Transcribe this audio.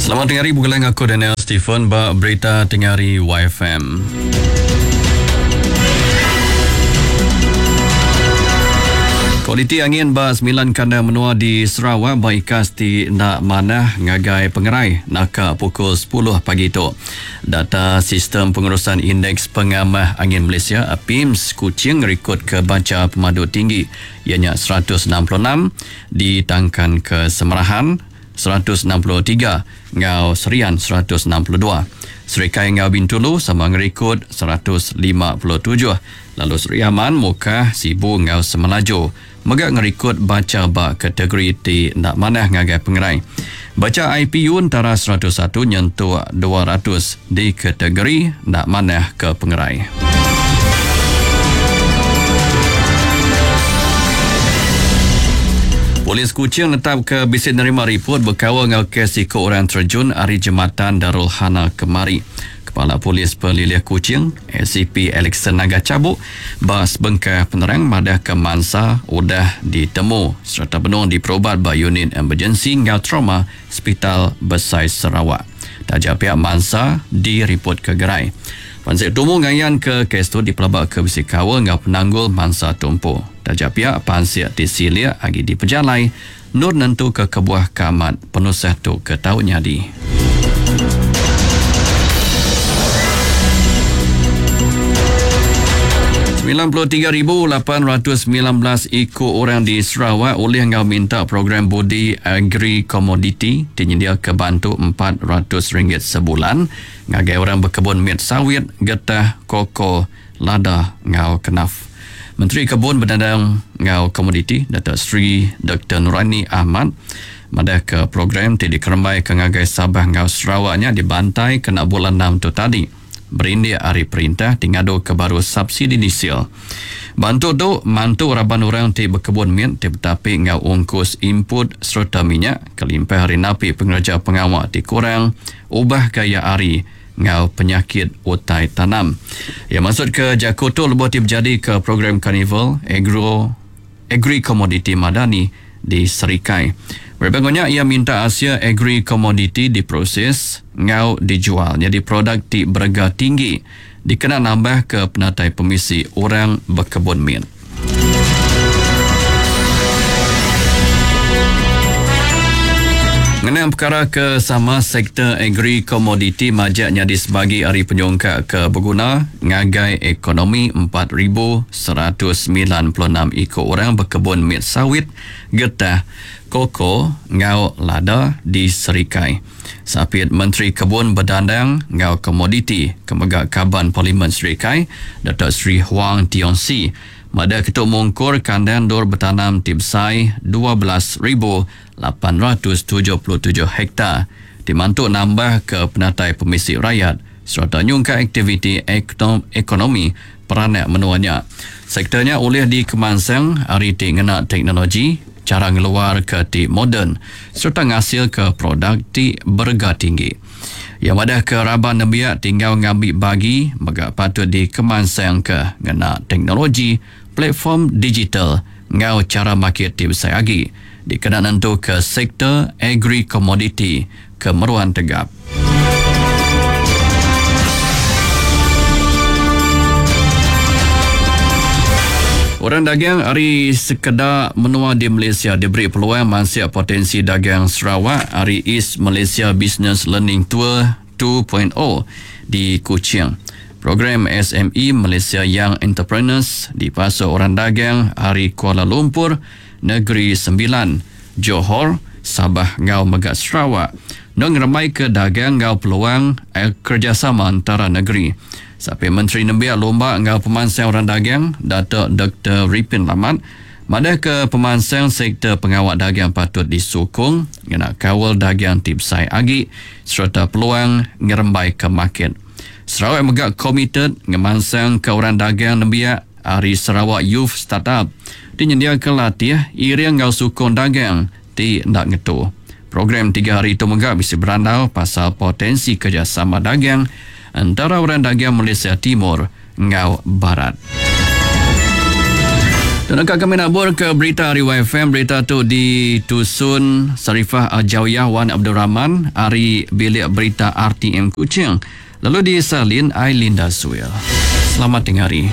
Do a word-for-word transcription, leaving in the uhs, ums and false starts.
Selamat tengah hari bulan aku Daniel Stephen ba berita tengah hari Y F M. Kualiti angin ba sembilan kandang menua di Sarawak ba ikas ti nak manah ngagai pengerai naka pukul sepuluh pagi tu. Data Sistem Pengurusan Indeks Pengamah Angin Malaysia A P I M S Kuching rekod ke baca pemadu tinggi ianya seratus enam puluh enam ditangkan ke Semerahan seratus enam puluh tiga ngau Serian seratus enam puluh dua. Serikai ngau Bintulu sama ngerekod seratus lima puluh tujuh. Lalu Seri Aman, Mukah, Sibu ngau Semelaju mega ngerekod baca ba kategori ti nak manah ngagai pengerai. Baca I P U antara seratus satu nyentuk dua ratus di kategori nak manah ke pengerai. Polis Kuching netap ke bisik nerima report berkawal ngau kes ikut orang terjun ari Jembatan Darul Hana kemari. Kepala Polis Pelilih Kuching, S C P Alexander Naga Cabuk, bas bengkah penerang madah ke mansa udah ditemu serta benung diperobat ba unit emergency ngau trauma Hospital Besai Sarawak. Tajak pihak mansa direport ke gerai. Pansik tumu ngayan ke kes tu dipelabak ke bisi kawal ngau penanggul mansa tumpu. Tajak pihak pansik di silia agi di pejalai nur nentu ke kebuah kamat penusah tu ke tau nyadi. sembilan puluh tiga ribu lapan ratus sembilan belas ikut orang di Sarawak oleh ngau minta program Budi Agri Komoditi tinyedia ke bantu empat ratus ringgit sebulan ngagai orang berkebun mit sawit, getah, koko, lada ngau kenaf. Menteri Kebun Bedandang ngau Komoditi Datuk Seri Doktor Nuraini Ahmad madah ke program ti dikerembai ke ngagai Sabah ngau Sarawaknya dibantai kena bulan enam tu tadi. Berindik hari perintah tingado ke baru subsidi diesel. Bantu tu mantu raban orang ti berkebun mit ti betapi ngau ungkus input serta minyak kelimpah hari napi pengerja pengawak ti kurang ubah gaya hari ngau penyakit utai tanam. Ya maksud ke jaku tu lebuh ti berjadi ke program Carnival Agro Agri Komoditi Madani di Serikai. Berbangunnya ia minta Asia Agri Komoditi diproses ngau dijual jadi produk ti berharga tinggi dikena nambah ke penatai pemisi orang berkebun mit. Mengenai perkara ke sama sektor agri komoditi majaknya di sebagai hari penyongkak ke berguna ngagai ekonomi empat ribu seratus sembilan puluh enam ikut orang berkebun mit sawit, getah, koko, ngau lada di Serikai. Sapit Menteri Kebun Bedandang ngau Komoditi kemegak Kaban Parlimen Serikai Datuk Seri Huang Tiong Si pada ketuk mungkur kandang dor bertanam tibsai dua belas ribu lapan ratus tujuh puluh tujuh hektar dimantuk nambah ke penatai pemisi rakyat serta nyungka aktiviti ekonomi peranak menuanya. Sektornya oleh di kemansang hari ti ngena teknologi, cara ngeluar ke ti moden serta ngasil ke produk ti berga tinggi. Yang madah ke raban nembiak tinggal ngambil bagi mega patut di kemansang ke ngena teknologi platform digital ngau cara market ti besai agi dikena nentu ke sektor agri komoditi ke meruan tegap. Orang dagang hari sekedar menua di Malaysia diberi peluang mansia potensi dagang Sarawak hari East Malaysia Business Learning Tour two point oh di Kuching. Program S M E Malaysia Young Entrepreneurs dipasuk orang dagang hari Kuala Lumpur, Negeri Sembilan, Johor, Sabah ngau Megat Sarawak. Nong ramai ke dagang ngau peluang kerjasama antara negeri. Sampai Menteri Nembiak Lomba ngau Pemansang Orang Dagang, Datuk Doktor Ripin Lamat, madah ke pemansang sektor pengawal dagang patut disokong ngena kawal dagang ti besai agi serta peluang ngerembai ke market. Sarawak mega komited ngemansang ke orang dagang nembiak ari Sarawak Youth Startup dinyediakan latih iring ngau sukong dagang ti ndak ngetu. Program tiga hari itu mega bisi berandau pasal potensi kerjasama dagang antara orang dagang Malaysia Timur ngau Barat. Dan kami nabur ke berita ari Y F M. Berita tu ditusun Sarifah Aljawiyah Wan Abdul Rahman ari Bilik Berita R T M Kuching. Lalu disalin Ailinda Suil. Selamat tinggal hari.